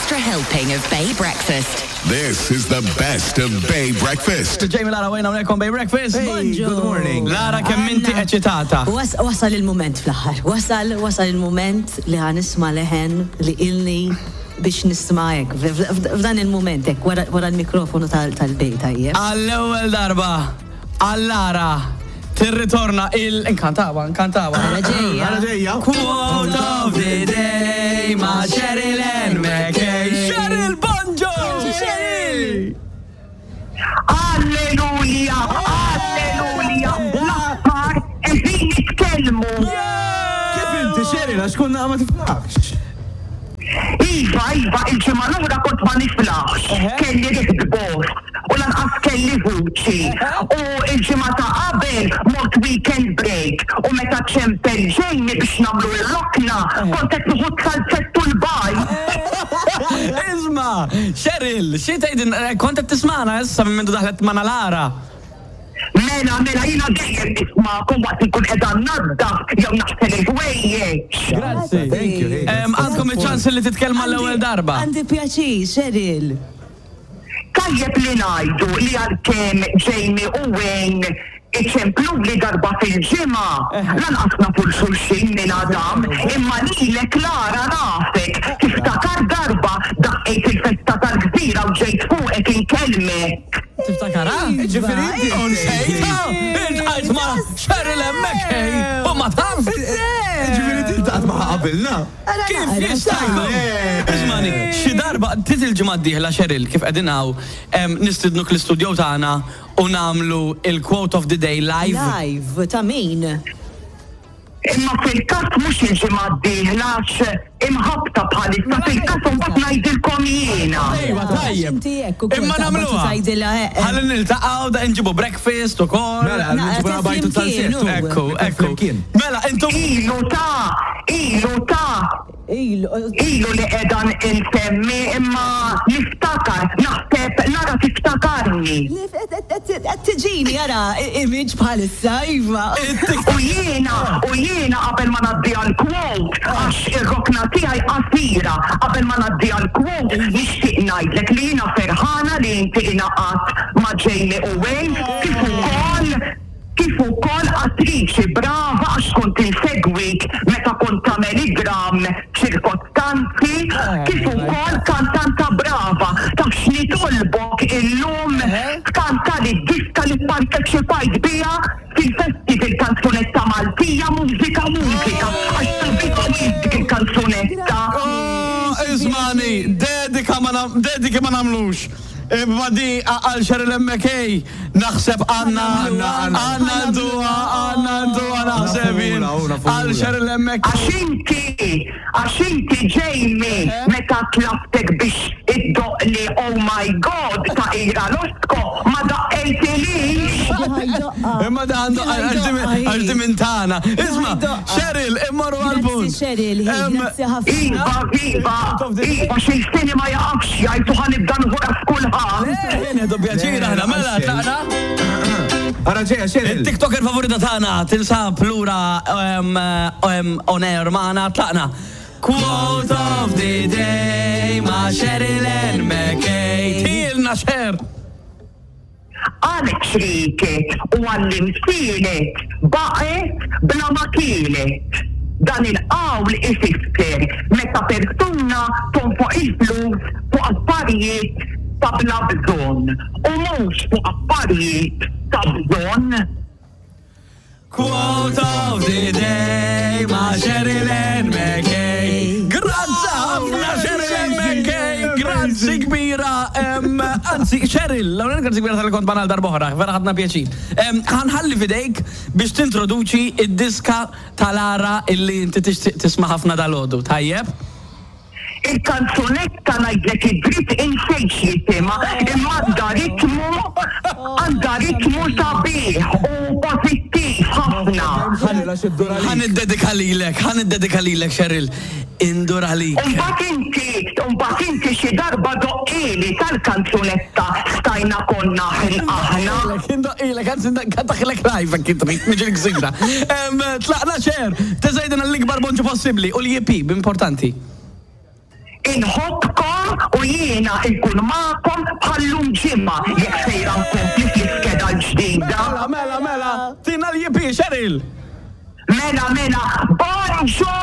extra helping of Bay Breakfast. This is the best of Bay Breakfast. Jamie Lara Wayne hawnhekk on Bay Breakfast. Hey, good morning. Lara kemm inti eċitata. Wasal il-mument fl-aħħar. Wasal, wasal il-mument li ħa nisma' leħen li ilni biex nisma' hekk. F'dan il-mument hekk wara l-mikrofonu tal-bej tajjeb. Għall-ewwel darba għal Lara tirritorna il inkantawa, inkantawa. Ara ġejja. Ara ġejja. Quote of the day ma' Cheryl Ann McKay. Cheryl Bonġo! Cheryl! Alleluja! Alleluja! L-aħħar qegħdin nitkellmu. Kif inti Cheryl għax konna ma tiflaħx? Iva, iva, il-ġimgħa l-oħra kont ma niflaħx. Kelli riħ bost u lanqas kelli vuċi. U il-ġimgħa ta' qabel mort weekend break u meta ċempel Jamie biex nagħmlu r-rokna kont qed nieħu t-salzett u l-bajd. Isma', Cheryl, xi tgħidin, kont qed tismagħna issa minn mindu daħlet magħna Lara. Mela, mela, jiena dejjem nismagħkom waqt li nkun qiegħda nnaddaf jew naħsel il-ħwejjeġ. Grazzi. Thank you. hey, that's- Għandkom iċ-ċans li titkellmu għall-ewwel darba. Għandi pjaċir, Cheryl. Tajjeb li ngħidu li għalkemm Jamie u Wayne iċempluli darba fil-ġimgħa, lanqas nafu 'l xulxin minn Adam, imma lilek Lara nafek, tiftakar darba daqqejt il-festa tal-gżira u ġejt fuqek inkellmek. Tiftakarha? Ġifieri inti. U nsejtha! Iltqajt ma' Cheryl hemmhekk hey, u ma taf! Ġifieri inti ltaqgħet magħha qabilna. Kif jista' jkun? Ismani, xi darba, tit il-ġimgħa d-dieħla Cheryl, kif qegħdin hawn, nistidnuk l-istudio tagħna u nagħmlu il-quote of the day live. Live, ta' min? Imma fil-każ mhux il-ġimgħa d-dieħla għax imħabbta bħalissa fil-każ imbagħad ngħidilkom jiena. Ejwa tajjeb. Inti hekk ukoll Imma taqbad u nagħmluha. tgħidilha, eh, eh. Ħalli niltaqgħu da nġibu breakfast ukoll. Mela, nġibu Naqra bajtu flimkien, tal-sett. u. Ekku, ekku. Flimkien. Mela, intom Ilu ta' ilu ta' Ilu. ilu li qiegħda nsemmi imma niftakar, naħseb Lara tiftakarni. Qed tiġini ara image bħalissa, iva. U jiena, u jiena qabel ma ngħaddi għall-quote, għax ir-rokna tiegħi qasira, qabel ma ngħaddi għall-quote, nixtieq ngħidlek li jiena ferħana li inti ingħaqadt ma' Jamie u Wayne, kif ukoll kif ukoll attriċi brava għax kont insegwik meta kont tagħmel id-dramm ċirkostanzi, kif ukoll kantanta brava. Taf x'nitolbok illum tkantali d-diska li pparteċipajt biha fil-festival kanzunetta Maltija Mużika Mużika għax sabiħa wisq dik il-kanzunetta. Oh, ismani, dedika ma nam, dediki ma nagħmlux. Imma di għal Cheryl McKay naħseb għandna għandna nduha għandna nduha naħseb jien. Għal Cheryl McKay. Għax inti, għax inti Jamie meta tlabtek biex iddoqqli Oh My God ta' Ira Losco ma daqqejtilix. Imma da għandu għax di minn tagħna. Isma' Cheryl immorru għall-punt. Grazzi Cheryl, grazzi ħafna. Iva, iva, iva, xi lsieni ma jaqafx jgħid u ħa nibda nħu ras kulħadd. Nieħdu pjaċir aħna, mela tlaqna. Ara ġejja Cheryl. Il-TikToker favorita tagħna tinsab lura on air magħna tlaqna. Quote of the day ma' Cheryl Ann McKay. Tilna Cher. Għalhekk xrieket u għall-imsielet baqgħet bla ma kielet. Dan il-qawl ifisser meta persuna tonfoq il-flus fuq affarijiet ta' bla bżonn u mhux fuq affarijiet ta' bżonn. Quote of the day ma' Sheryl Ann McKay. Grazzi ħafna Sheryl Ann McKay, grazzi kbira. Anzi, Sheryl, l-ewwel grazzi kbira tal-li kont magħna għal darb'oħra, vera ħadna pjaċir. Ħa nħalli f'idejk biex tintroduċi id-diska ta' Lara illi inti tixtieq tisma' ħafna dalgħodu, tajjeb? Il-kanzunetta ngħidlek id-dritt insejt x'jisimha imma għandha ritmu għandha ritmu sabiħ u pożittiv ħafna. Ħa niddedika lilek, ħa niddedika lilek Cheryl. Indur għalik. U mbagħad inti, u mbagħad inti xi darba doqqili tal-kanzunetta Stajna konna aħna. Indoqqilek, anzi nkantaħlek live jekk trid, niġi l-gżira. Tlaqna Cher, teżgħidilna l-ikbar bonġu possibbli u l-EP, importanti. Inħobbkom. Jiena nkun magħkom bħal-lum ġimgħa jekk sejra nkompli fl-iskeda l-ġdida. Mela, mela, mela, tina l-jipi, Cheryl! Mela, mela, bonġu!